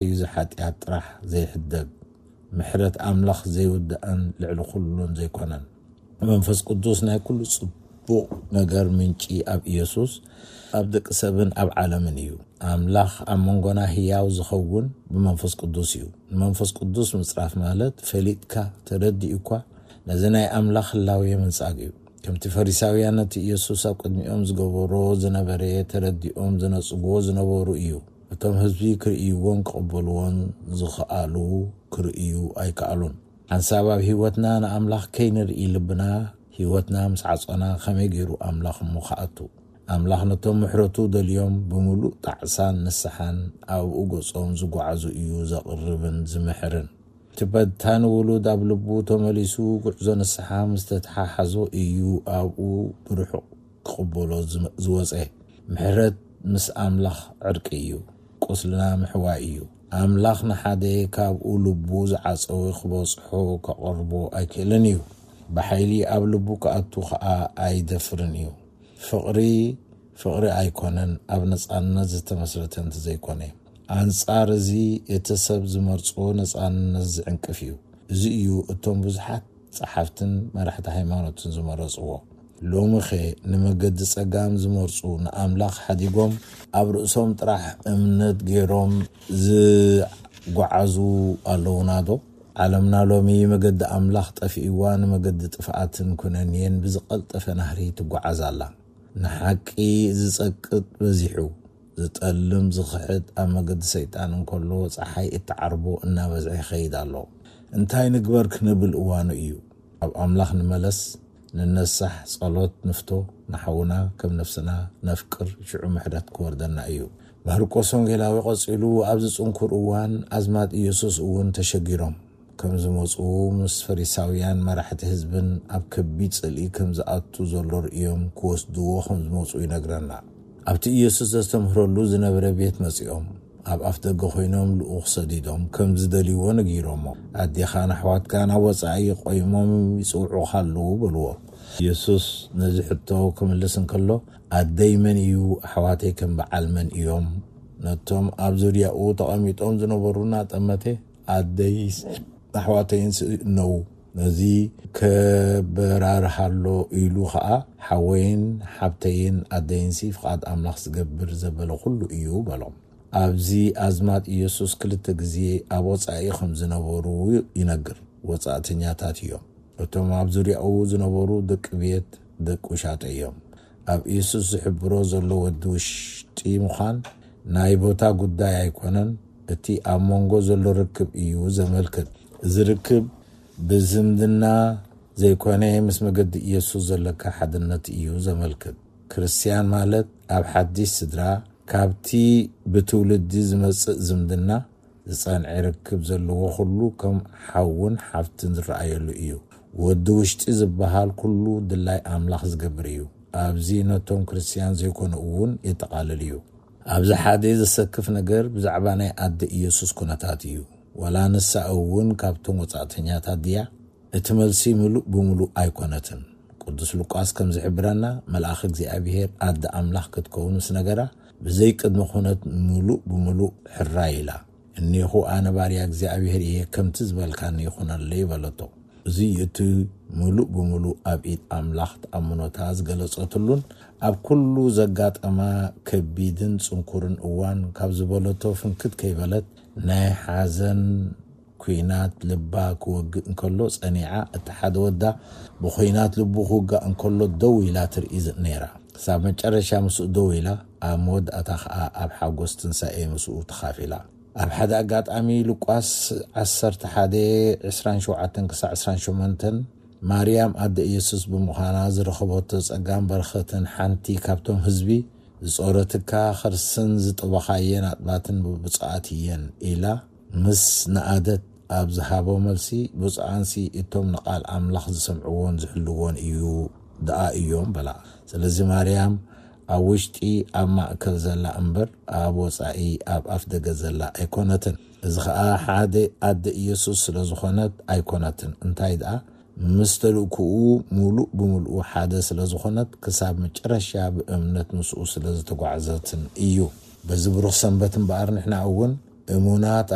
እዩ ዝሓጢኣት ጥራሕ ዘይሕደግ፣ ምሕረት ኣምላኽ ዘይውዳእን ልዕሊ ኩሉን ዘይኮነን። መንፈስ ቅዱስ ናይ ኩሉ ጽቡቕ ነገር ምንጪ ኣብ ኢየሱስ፣ ኣብ ደቂ ሰብን ኣብ ዓለምን እዩ። ኣምላኽ ኣብ መንጎና ህያው ዝኸውን ብመንፈስ ቅዱስ እዩ። ንመንፈስ ቅዱስ ምጽራፍ ማለት ፈሊጥካ፣ ተረዲኡ እኳ፣ ነዚ ናይ ኣምላኽ ህላዌ ምንጻግ እዩ። ከምቲ ፈሪሳውያን ነቲ ኢየሱስ ኣብ ቅድሚኦም ዝገበሮ ዝነበረ ተረዲኦም ዝነጽግዎ ዝነበሩ እዩ። እቶም ህዝቢ ክርእይዎን ክቕበልዎን ዝኸኣሉ ክርእዩ ኣይከኣሉን። ሓንሳብ ኣብ ህይወትና ንኣምላኽ ከይንርኢ ልብና፣ ህይወትና ምስ ዓጾና ከመይ ገይሩ ኣምላኽ እሞ ክኣቱ? ኣምላኽ ነቶም ምሕረቱ ደልዮም ብምሉእ ጣዕሳን ንስሓን ኣብኡ ገጾም ዝጓዓዙ እዩ ዘቕርብን ዝምሕርን። እቲ በታኒ ውሉድ ኣብ ልቡ ተመሊሱ ጉዕዞ ንስሓ ምስ ተተሓሓዞ እዩ ኣብኡ ብርሑቕ ክቕበሎ ዝመ-፣ ዝወጸ። ምሕረት ምስ ኣምላኽ ዕርቂ እዩ። ቁስልና ምሕዋይ እዩ። ኣምላኽ ንሓደ ካብኡ ልቡ ዝዓጸወ ክበጽሖ ከቐርቦ ኣይክእልን እዩ። ብሓይሊ ኣብ ልቡ ክኣቱ ኸኣ ኣይደፍርን እዩ። ፍቕሪ፣ ፍቕሪ ኣይኮነን ኣብ ነጻነት ዝተመስረተ እንተዘይኮነ። ኣንጻር እዚ እቲ ሰብ ዝመርጾ ነጻነት ዝዕንቅፍ እዩ። እዚ እዩ እቶም ብዙሓት ጸሓፍትን መራሕቲ ሃይማኖትን ዝመረጽዎ። ሎሚኸ ንመገዲ ጸጋም ዝመርጹ ንኣምላኽ ሓዲጎም ኣብ ርእሶም ጥራሕ እምነት ገይሮም ዝጓዓዙ ኣለዉናዶ? ዓለምና ሎሚ መገዲ ኣምላኽ ጠፊእዋ ንመገዲ ጥፍኣትን ኩነኔን ብዝቐልጠፈ ናህሪ ትጓዓዝ ኣላ። ንሓቂ ዝጸቅጥ በዚሑ፣ ዝጠልም ዝኽሕድ ኣብ መገዲ ሰይጣን እንከሎ ጸሓይ እትዓርቦ እናበዝሐ ይኸይድ ኣሎ። እንታይ ንግበር ክንብል እዋኑ እዩ። ኣብ ኣምላኽ ንመለስ፣ ንነሳሕ፣ ጸሎት ንፍቶ፣ ንሓውና ከም ነፍስና ነፍቅር፣ ሽዑ ምሕረት ክወርደና እዩ። ማርቆስ ወንጌላዊ ቀጺሉ፣ ኣብዚ ጽንኩር እዋን ኣዝማድ ኢየሱስ እውን ተሸጊሮም ከም ዝመጹ፣ ምስ ፈሪሳውያን መራሕቲ ህዝብን ኣብ ከቢድ ጽልኢ ከም ዝኣቱ ዘሎ ርእዮም ክወስድዎ ከም ዝመጹ ይነግረና። ኣብቲ ኢየሱስ ዘስተምህረሉ ዝነበረ ቤት መጺኦም፣ ኣብ ኣፍ ደገ ኮይኖም ልኡኽ ሰዲዶም ከም ዝደልይዎ ነጊሮሞ። ኣዴኻን ኣሕዋትካን ኣብ ወጻኢ ቆይሞም ይጽውዑኻ ኣለዉ በልዎ። ኢየሱስ ነዚ ሕቶ ክምልስ እንከሎ፣ ኣደይ መን እዩ? ኣሕዋተይ ከም በዓል መን እዮም? ነቶም ኣብ ዙርያኡ ተቐሚጦም ዝነበሩ እናጠመተ፣ ኣደይስ ኣሕዋተይንስ እነዉ? ነዚ ከበራርሃሎ ኢሉ ኸኣ፣ ሓወይን ሓብተይን ኣደይንሲ ፍቓድ ኣምላኽ ዝገብር ዘበለ ኩሉ እዩ በሎም። ኣብዚ ኣዝማድ ኢየሱስ ክልተ ግዜ ኣብ ወጻኢ ከም ዝነበሩ ይነግር። ወጻእተኛታት እዮም። እቶም ኣብ ዙርያኡ ዝነበሩ ደቂ ቤት፣ ደቂ ውሻጠ እዮም። ኣብ ኢየሱስ ዝሕብሮ ዘሎ ወዲ ውሽጢ ምዃን ናይ ቦታ ጉዳይ ኣይኮነን። እቲ ኣብ መንጎ ዘሎ ርክብ እዩ ዘመልክት። እዚ ርክብ ብዝምድና ዘይኮነ፣ ምስ መገዲ ኢየሱስ ዘለካ ሓድነት እዩ ዘመልክት። ክርስትያን ማለት ኣብ ሓድሽ ስድራ፣ ካብቲ ብትውልዲ ዝመጽእ ዝምድና ዝጸንዐ ርክብ ዘለዎ ኩሉ ከም ሓውን ሓፍትን ዝረኣየሉ እዩ። ወዲ ውሽጢ ዝበሃል ኩሉ ድላይ ኣምላኽ ዝገብር እዩ። ኣብዚ ነቶም ክርስትያን ዘይኮኑ እውን የጠቓልል እዩ። ኣብዚ ሓደ ዘሰክፍ ነገር ብዛዕባ ናይ ኣደ ኢየሱስ ኩነታት እዩ። ዋላ ንሳ እውን ካብቶም ወጻእተኛታት ድያ? እቲ መልሲ ምሉእ ብምሉእ ኣይኮነትን። ቅዱስ ሉቃስ ከም ዝሕብረና፣ መልኣኽ እግዚኣብሔር ኣደ ኣምላኽ ክትከውን ምስ ነገራ፣ ብዘይ ቅድመ ኩነት ምሉእ ብምሉእ ሕራይ ኢላ። እኔኹ ኣነ ባርያ እግዚኣብሔር እየ፣ ከምቲ ዝበልካኒ ይኹነለይ በለቶ። እዚ እቲ ምሉእ ብምሉእ ኣብ ኢድ ኣምላኽ ተኣምኖታ ዝገለጸትሉን ኣብ ኩሉ ዘጋጠማ ከቢድን ጽንኩርን እዋን ካብ ዝበለቶ ፍንክት ከይበለት ናይ ሓዘን ኲናት ልባ ክወግእ እንከሎ ጸኒዓ፣ እቲ ሓደ ወዳ ብኲናት ልቡ ክውጋእ እንከሎ ደው ኢላ ትርኢ ዝ-፣ ነይራ። ክሳብ መጨረሻ ምስኡ ደው ኢላ፣ ኣብ መወዳእታ ኸኣ ኣብ ሓጎስ ትንሳኤ ምስኡ ተኻፊላ። ኣብ ሓደ ኣጋጣሚ ሉቃስ ዓሰርተ ሓደ፣ ዕስራን ሸውዓተን ክሳዕ ዕስራን ሸሞንተን፣ ማርያም ኣደ ኢየሱስ ብምዃና ዝረኸበቶ ጸጋን በረኸትን ሓንቲ ካብቶም ህዝቢ፣ "ዝጾረትካ ኸርስን ዝጠበኻየን ኣጥባትን ብፁዓት እየን" ኢላ ምስ ነኣደት ኣብ ዝሃቦ መልሲ፣ "ብፁዓንሲ እቶም ንቓል ኣምላኽ ዝሰምዕዎን ዝሕልዎን እዩ ደኣ እዮም" በላ። ስለዚ ማርያም ኣብ ውሽጢ ኣብ ማእከል ዘላ እምበር፣ ኣብ ወጻኢ ኣብ ኣፍ ደገ ዘላ ኣይኮነትን። እዚ ኸኣ ሓደ ኣደ ኢየሱስ ስለ ዝኾነት ኣይኮነትን። እንታይ ደኣ፣ ምስ ተልእኮኡ ምሉእ ብምሉኡ ሓደ ስለ ዝኾነት፣ ክሳብ መጨረሻ ብእምነት ምስኡ ስለ ዝተጓዕዘትን እዩ። በዚ ብሩኽ ሰንበት እምበኣር፣ ንሕና እውን እሙናት